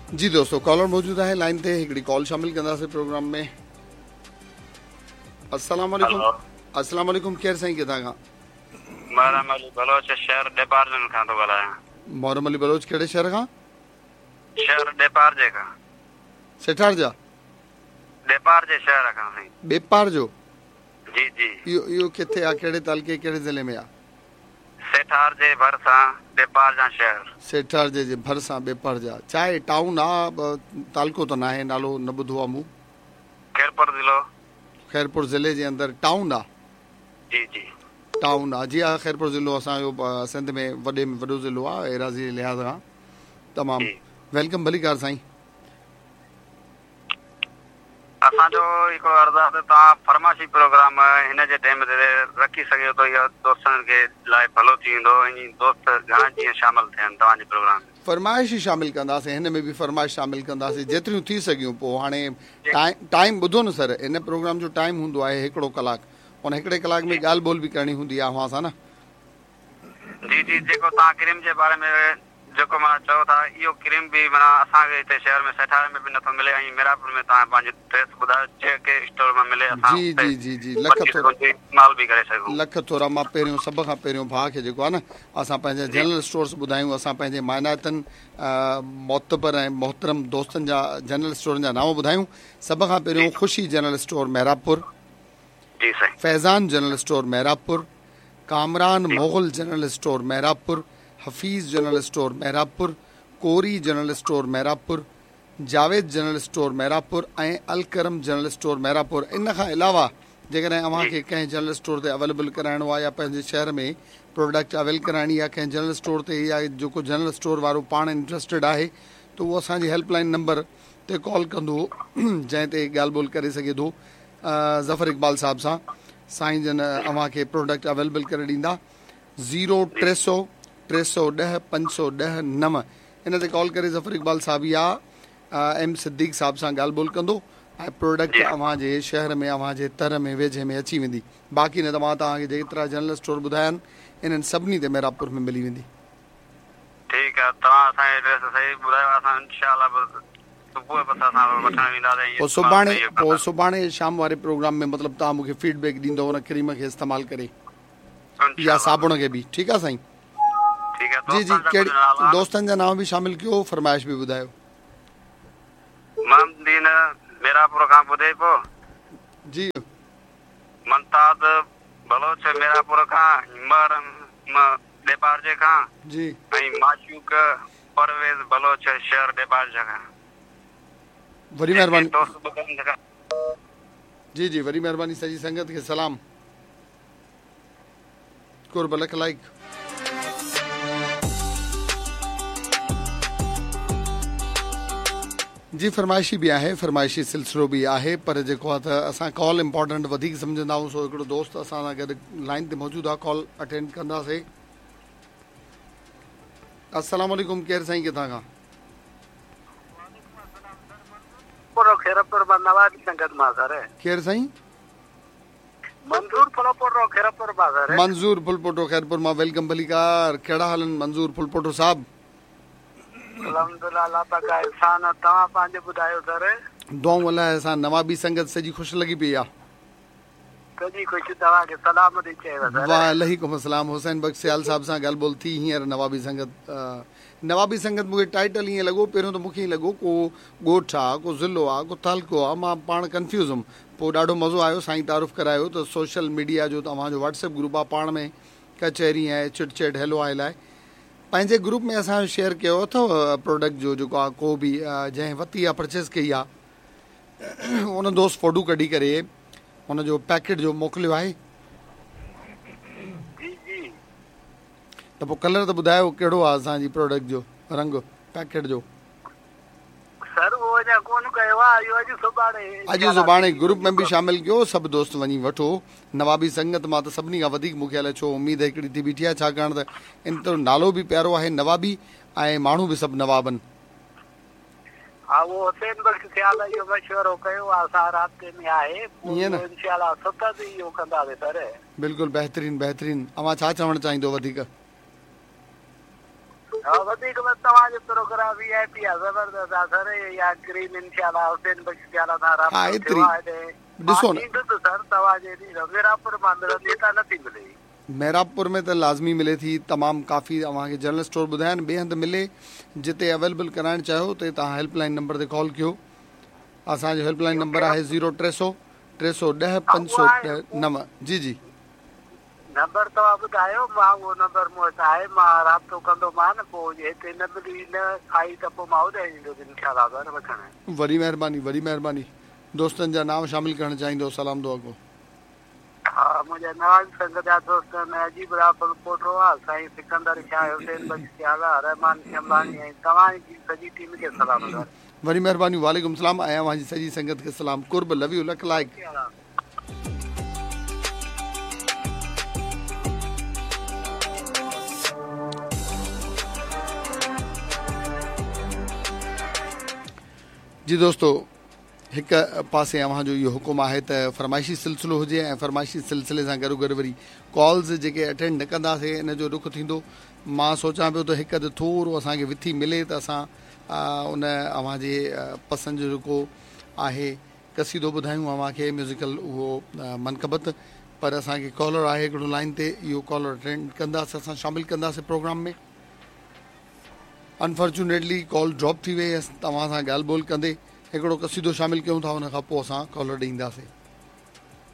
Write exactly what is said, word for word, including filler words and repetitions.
जी दोस्तों, कॉलर मौजूद आहे लाइन ते, हिकिड़ी कॉल शामिल कंदासीं प्रोग्राम में। अस्सलाम वालेकुम। अस्सलाम वालेकुम, केरु साईं, किथां खां? मुहर्रम अली बलोच, शहर ॾेपारजन खां थो ॻाल्हायां। मुहर्रम अली बलोच, कहिड़े शहर खां? शहर ॾेपारजे खां। सेठार जा? ॾेपारजे शहर खां साईं। ॿेपार जो? जी जी। इहो इहो किथे आहे, कहिड़े तालुके, कहिड़े ज़िले में आहे? सेठार जे भरिसां ॾेपार जा शहर। सेठार जे जे भरिसां ॿेपार जा। छा टाउन आहे, तालुको त न आहे, नालो न ॿुधो आहे मूं। ख़ैरपुर ज़िलो। ख़ैरपुर ज़िले जे अंदरि टाउन आहे? जी जी, टाउन आहे। जी हा, ख़ैरपुर ज़िलो असांजो सिंध में वॾे में वॾो ज़िलो आहे एराज़ी जे लिहाज़ खां। तमामु welcome, भलीकार साईं। असांजो हिकिड़ो अर्ज़ु आहे त तव्हां फरमाइशी प्रोग्राम हिन जे टाइम ते रखी सघो त इहो दोस्तनि खे लाइ भलो थी वेंदो ऐं दोस्त घणा जीअं शामिल थियनि तव्हांजे प्रोग्राम में। फरमाइश ई शामिल कंदासीं, हिन में बि फरमाइश शामिल कंदासीं जेतिरियूं थी सघियूं। पोइ हाणे टाइम टाइम ॿुधो न सर, हिन प्रोग्राम जो टाइम हूंदो आहे हिकिड़ो कलाकु, उन हिकिड़े कलाक में ॻाल्हि ॿोल बि करणी हूंदी आहे अव्हां सां न। जी जी, जेको तव्हां क्रीम जे बारे में जेको माना चओ था, इहो क्रीम बि माना असांखे हिते शहर में सेठार में बि नथो मिले ऐं मीरापुर में तव्हां पंहिंजो ड्रेस ॿुधायो जेके स्टोर मां मिले असां। जी जी जी जी, लख थोरा इस्तेमाल बि करे सघूं। लख थोरा। मां पहिरियों सभ खां पहिरियों भाउ खे जेको आहे न असां पंहिंजा जनरल स्टोर्स ॿुधायूं, असां पंहिंजे मानाइतनि मोतबर ऐं मोहतरम दोस्तनि जा जनरल स्टोरनि जा नाम ॿुधायूं। सभ खां पहिरियों ख़ुशी जनरल स्टोर मेहराबपुर, जी साईं, Faizan general store Mehrabpur, Kamran Mughal general store Mehrabpur, Hafeez general store Mehrabpur, Kori general store Mehrabpur, Javed general store Mehrabpur ऐं अलकरम जनरल स्टोर मेहराबपुर। इन खां अलावा जेकॾहिं अव्हांखे कंहिं जनरल स्टोर ते अवेलेबल कराइणो आहे या पंहिंजे शहर में प्रोडक्ट अवेल कराइणी आहे कंहिं जनरल स्टोर ते, या जेको जनरल स्टोर वारो पाण इंट्रस्टेड आहे त उहो असांजी हेल्पलाइन नंबर ते कॉल कंदो, जंहिं ते ॻाल्हि ॿोल करे सघे थो ज़फ़र इक़बाल साहब सां। साईं जन अव्हांखे प्रोडक्ट अवेलेबल करे ॾींदा। ज़ीरो टे सौ टे सौ ॾह पंज सौ ॾह नव, इन ते कॉल करे ज़फ़र इक़बाल साहब या एम सिद्दीक साहब सां ॻाल्हि ॿोल कंदो ऐं प्रोडक्ट अव्हांजे शहर में, अव्हांजे तर में, वेझे में अची वेंदी। बाक़ी न त मां तव्हांखे जेतिरा जनरल स्टोर ॿुधाया आहिनि इन्हनि सभिनी ते मेहराबपुर में मिली वेंदी। ठीकु आहे, तव्हां असांजे एड्रेस सही ॿुधायो, असां इंशाअल्लाह सुबुह बसि असां वठण वेंदासीं। पोइ सुभाणे पोइ सुभाणे शाम वारे प्रोग्राम में मतिलबु तव्हां मूंखे फीडबैक ॾींदव हुन क्रीम खे इस्तेमालु करे या साबुण खे बि। ठीकु आहे साईं? ठीकु आहे। जी जी, कहिड़ी दोस्तनि जा नाम बि शामिल कयो, फरमाइश बि ॿुधायो। मोहम्मदीन मेरापुर खां ॿुधे पियो। जी। मुमताज़ बलोच मेरापुर खां, ॾेपारजे खां। जी। ऐं माशूक परवेज़ बलोच शहर ॾेपारजे खां। वॾी महिरबानी। जी जी, वॾी महिरबानी। सॼी संगत खे सलाम, कुर्ब, लख लाइक। जी, फरमाइशी बि आहे, फरमाइशी सिलसिलो बि आहे, पर जेको आहे त असां कॉल इम्पोर्टेंट वधीक सम्झंदा आहियूं। सो हिकिड़ो दोस्त असां सां गॾु लाइन ते मौजूदु आहे, कॉल अटेंड कंदासीं। अस्सलाम वालेकुम, केरु साईं, किथां खां? खैरपुर मां नवाबी संगत मां सर। केरु साईं? मंज़ूर फुलपोटो खैरपुर मां सर। मंज़ूर फुलपोटो खैरपुर मां, welcome, भलीकार। कहिड़ा हाल आहिनि मंज़ूर फुलपोटो साहब? अल्हम्दुलिल्लाह, अल्लाह पाक का एहसान आहे। तव्हां पंहिंजो ॿुधायो सर? दुआऊं अलाह सां, नवाबी संगत सॼी ख़ुशि लॻी पई आहे। सॼी ख़ुशि, तव्हांखे सलाम थी चएव सर। वालेकुम अस्सलाम। हुसैन बख्श सियाल साहब सां ॻाल्हि ॿोल थी हींअर। नवाबी संगत, नवाबी संगत मूंखे टाइटल ईअं लॻो, पहिरियों त मूंखे ईअं लॻो को ॻोठु आहे, को ज़िलो आहे, को तालुको आहे, मां पाण कन्फ्यूज़ हुउमि। पोइ ॾाढो मज़ो आयो, साईं तारुफ़ करायो त सोशल मीडिया जो तव्हांजो व्हाट्सएप ग्रुप आहे, पाण में कचहरी ऐं चिट चैट हेलो आहे लाइ पंहिंजे ग्रुप में असां शेयर कयो अथव प्रोडक्ट जो जेको आहे, को बि जंहिं वरिती आहे, परचेज़ कई आहे, उन दोस्त फोटो कढी करे हुनजो पैकेट जो मोकिलियो आहे। जी जी। त पोइ कलर त ॿुधायो कहिड़ो आहे असांजी प्रोडक्ट जो रंग पैकेट जो? सर उहो अञा कोन कयो आहे, इहो अॼु सुभाणे अॼु सुभाणे ग्रुप में बि शामिल कयो, सभु दोस्त वञी वठो। नवाबी संगत मां त सभिनी खां वधीक मूंखे अलाए छो उमेद हिकिड़ी थी बीठी आहे, छाकाणि त इन त नालो बि प्यारो आहे नवाबी ऐं माण्हू बि सभु नवाब आहिनि। हा, उहो हुसैन बख़्श सियाल इहो मशवरो कयो आहे, असां राब्ते में आहे, ईअं न? इंशाअल्लाह सतत इहो कंदासीं सर। बिल्कुलु बहितरीन बहितरीन। अव्हां छा चवणु चाहींदो वधीक? ها वधीक बसि तव्हांजो प्रोग्राम वी I P आहे, ज़बरदस्त आहे सर। इहा क्रीम इनशाला हुसैन बख़्श सियाल सां हा राब्तो एतिरी थियो आहे हिते। मां ॾिसो न, ईंदुसि सर तव्हांजे मीरापुर मां मिलंदी, हितां नथी मिले। मेहराबपुर में त लाज़मी मिले थी तमामु काफ़ी। अव्हांखे जनरल स्टोर ॿुधाया आहिनि, ॿिए हंधि मिले जिते अवेलेबल कराइणु चाहियो त तव्हां हेल्पलाइन नंबर ते कॉल कयो। असांजो हेल्पलाइन ॿियो नंबर कहिड़ो? आहे ज़ीरो टे सौ टे सौ ॾह हा पंज उहो सौ आहे ॾह नव। जी जी नंबर तव्हां ॿुधायो, मां उहो नंबर मूं वटि आहे, मां राब्तो कंदोमान। पोइ हिते न मिली न आई त पोइ मां होॾे ईंदुसि इनशाला सर वठणु। वॾी महिरबानी, वॾी महिरबानी। दोस्तनि जा नाम शामिल करणु चाहींदो सलाम दुआ को? हा मुंहिंजा नवाज़ संग जा दोस्त आहिनि, अजीब राफल पोटरो आहे, साईं सिकंदर शाह, हुसैन बख़्श सियाल आहे, रहमान शमलानी ऐं तव्हांजी सॼी टीम खे सलाम सर। वॾी महिरबानी, वालेकुम सलाम ऐं अव्हांजी सॼी संगत खे सलाम। कुर्ब, लव you, luck like. जी दोस्तो, हिकु पासे अव्हांजो इहो हुकुम आहे त फरमाइशी सिलसिलो हुजे ऐं फरमाइशी सिलसिले सां गॾो गॾु वरी कॉल्स जेके अटेंड न कंदासीं इन जो ॾुख थींदो। मां सोचां पियो त हिकु अधु थोरो असांखे विथी मिले त असां उन अव्हांजे पसंदि जो जेको आहे कसीदो ॿुधायूं अव्हांखे म्यूज़िकल उहो मनक़बत। पर असांखे कॉलर आहे हिकिड़ो लाइन ते, इहो कॉलर अटेंड कंदासीं, असां शामिल कंदासीं प्रोग्राम में। अनफॉर्चुनेटली कॉल ड्रॉप थी वई। तव्हां सां ॻाल्हि ॿोल कंदे हिकिड़ो कसीदो शामिल कयूं था, उन खां पोइ असां कॉलर ॾींदासीं।